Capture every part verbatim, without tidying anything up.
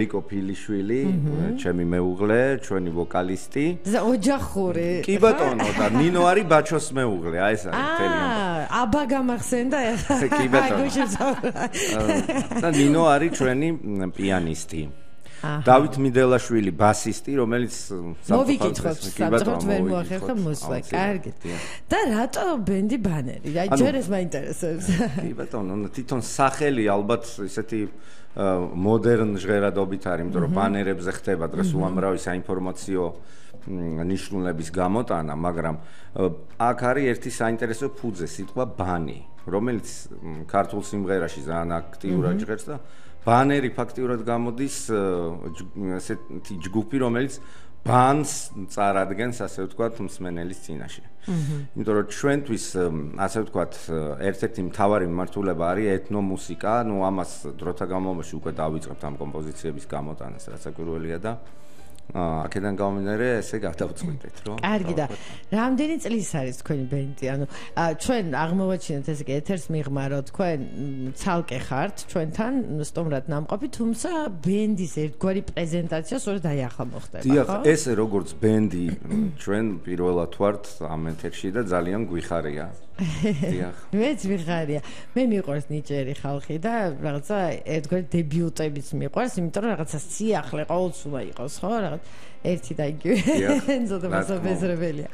Iko Piliშვილი, ჩემი მეუღლე, ჩვენი ვოკალისტი. ოჯახური. კი ბატონო და ნინო არის ბაჩოს მეუღლე, აი ეს არის მთელი ამბავი. აა, აბა გამახსენდა ეხლა. კი ბატონო. და ნინო არის ჩვენი პიანისტი. დავით მიდელაშვილი ბასისტი, რომელიც მოვიკითხოთ, საბჭოთა ვერ მოახერხა მოსვლა, კარგი. და რატო ბენდი ბანერი? აი ჯერ ეს მაინტერესებს. კი ბატონო, თვითონ სახელი ალბათ ისეთი მოდერნ ჟღერადობით არის, იმიტომ რომ ბანერებზე ხდება დღეს უამრავი საინფორმაციო ნიშნულების გამოტანა, მაგრამ აქ არის ერთი საინტერესო ფუძე, სიტყვა ბანი, რომელიც ქართულ სიმღერაში ძალიან აქტიურად ჟღერს და ბანერი ფაქტიურად გამოდის ესეთი ჯგუფი, რომელიც ბანს წარადგენს, ასე ვთქვათ, მსმენელის წინაშე. იმიტომ რომ ჩვენთვის, ასე ვთქვათ, ერთ-ერთი მთავარი მიმართულება არის ეთნომუსიკა, ну ამას დროთა განმავლობაში უკვე დავიწყებთ ამ კომპოზიციების გამოტანას, რაც საკვირველია და აქედან გამომდინარე ესე გადავწყვიტეთ, რომ კარგი და რამდენი წლის არის თქვენი ბენდი? ანუ ჩვენ აღმოვაჩინეთ ესე იგი ეთერს მიღმა რომ თქვენ ცალკე ხართ ჩვენთან სტუმრად ნამყოფი, თუმცა ბენდის ერთგვარი პრეზენტაცია სწორედ აი ახლა მოხდება, ხო? დიახ, ესე როგორც ბენდი ჩვენ პირველად ვართ ამ ეთერში და ძალიან გვიხარია. დიახ. მეც მიხარია. მე მიყვარს ნიჭიერი ხალხი და რაღაცა ერთგვარი დებიუტებიც მიყვარს, იმიტომ რომ რაღაცა სიახლე ყოველთვის იყოს, ხო? რაღაც ერთი და იგივე. ზოგი მასობეზრებელია.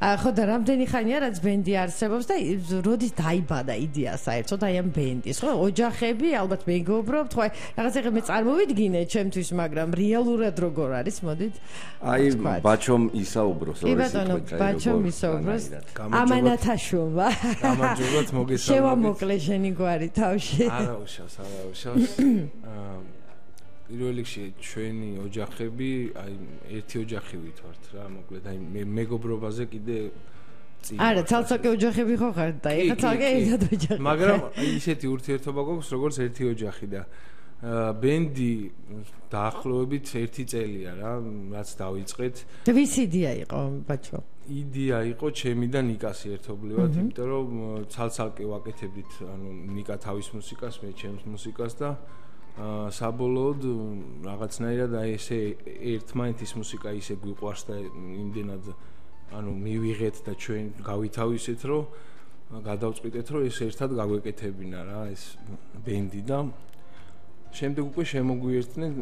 ხო და რამდენი ხანია რაც ბენდი არსებობს და როდის დაიბადა იდეა საერთოდ აი ამ ბენდის, ხო? ოჯახები, ალბათ მეგობრობთ, ხო? რაღაცა მე წარმოვიდგინე ჩემთვის, მაგრამ რეალურად როგორ არის, მოდით? აი ბაჩომ ისაუბროს, ორი სიტყვით. ბაჩომ ისაუბროს. ამანათაშვილმა. გამარჯობათ, მოგესალმებით. შევამოკლე შენი გვარი თავში. არა უშავს, არა უშავს. პირველ რიგში ჩვენი ოჯახები, აი ერთი ოჯახივით ვართ რა, მოკლედ აი მე მეგობრობაზე კიდე წინ. არა, ცალ-ცალკე ოჯახები ხო ხართ და ეხლა ცალკე ერთად ოჯახი. მაგრამ ისეთი ურთიერთობა გვაქვს, როგორც ერთი ოჯახი და ბენდი დაახლოებით ერთი წელია რა, რაც დავიწყეთ. და ვის იდეა იყო, ბაჩო? იდეა იყო ჩემი და ნიკას ერთობლივად, იმიტომ რომ ცალ-ცალკე ვაკეთებდით, ანუ ნიკა თავის მუსიკას, მე ჩემს მუსიკას და საბოლოოდ რაღაცნაირად აი ესე ერთმანეთის მუსიკა ისე გვიყვარს და იმდენად ანუ მივიღეთ და ჩვენ გავითავისეთ, რომ გადავწყვიტეთ, რომ ეს ერთად გაგვეკეთებინა რა ეს ბენდი და შემდეგ უკვე შემოგვიერთდნენ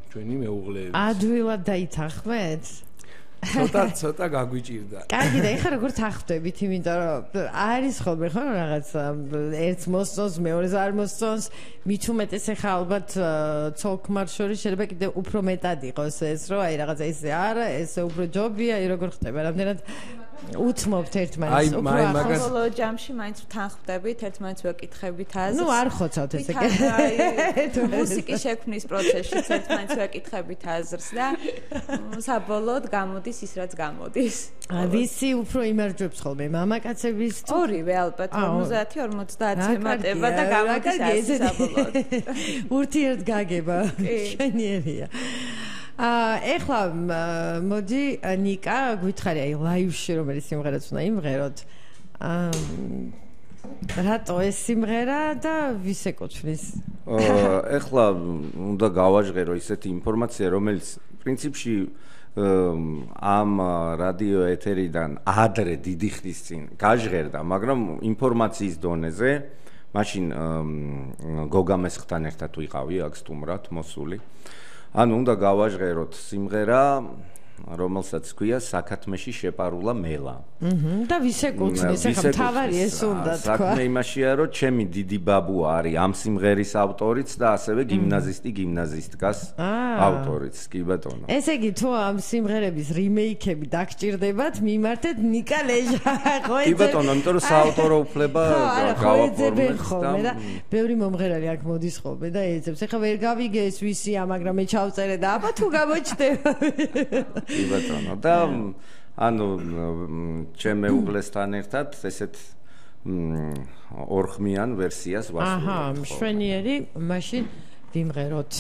ჩვენი მეუღლეები. ადვილად დაითანხმეთ? ცოტა ცოტა გაგვიჭირდა. კარგი და ეხლა როგორ თანხმდებით, იმიტომ რომ არის ხოლმე ხო რაღაც ერთს მოსწონს, მეორეს არ მოსწონს, მით უმეტეს ეხლა ალბათ ცოლ-ქმარ შორის შეიძლება კიდე უფრო მეტად იყოს ეს, რომ აი რაღაცა ისე არა, ესე უფრო ჯობია, აი როგორ ხდება, რამდენად უთმობთ ერთმანეთს უფრო ახალ ბოლო ჯამში მაინც თანხმდებით, ერთმანეთს ვეკითხებით აზრს. ნუ არ ხოცავთ ესე კი. მუსიკის შექმნის პროცესში ერთმანეთს ვეკითხებით აზრს და საბოლოოდ გამოდის ის რაც გამოდის. ვისი უფრო იმარჯვებს ხოლმე, მამაკაცების თუ ორივე ალბათ ორმოცდაათი ორმოცდაათი ემატება და გამოდის ასე საბოლოოდ. ურთიერთგაგება შენიერია. აა ეხლა მოდი ნიკა გითხარი აი ლაივში რომელიც სიმღერაც უნდა იმღეროთ. აა რატო ეს სიმღერა და ვის ეკუთვნის? აა ეხლა უნდა გავაჟღერო ისეთი ინფორმაცია, რომელიც პრინციპში ამ რადიო ეთერიდან ადრე დიდი ხნის წინ გაჟღერდა, მაგრამ ინფორმაციის დონეზე მაშინ გოგა მესხთან ერთად ვიყავი აქ სტუმრად მოსული. ანუ უნდა გავაჟღეროთ სიმღერა, რომელსაც ქვია საქათმეში შეპარულა მელა. აჰა. და ვის ეკუთვნის? ახლა თავარი ეს უნდა თქვა. საქმე იმაშია, რომ ჩემი დიდი ბაბუა არის ამ სიმღერის ავტორიც და ასევე გიმნაზისტი გიმნაზისტკას ავტორიც, კი ბატონო. ესე იგი, თუ ამ სიმღერების რიმეიქები დაგჭირდებათ, მიმართეთ ნიკა ლეჟა, ხო? კი ბატონო, იმიტომ რომ საავტორო უფლება გავაფორმეთ და ბევრი მომღერალი აქ მოდის ხოლმე და ეძებს. ეხლა ვერ გავიგე ეს ვისია, მაგრამ მე ჩავწერე და აბა თუ გამოჩნდება. კი ბატონო და ანუ ჩემ მეუღლესთან ერთად ესეთ ორხმიან ვერსიას ვასრულებთ. აჰა, მშვენიერი, მაშინ ვიმღეროთ.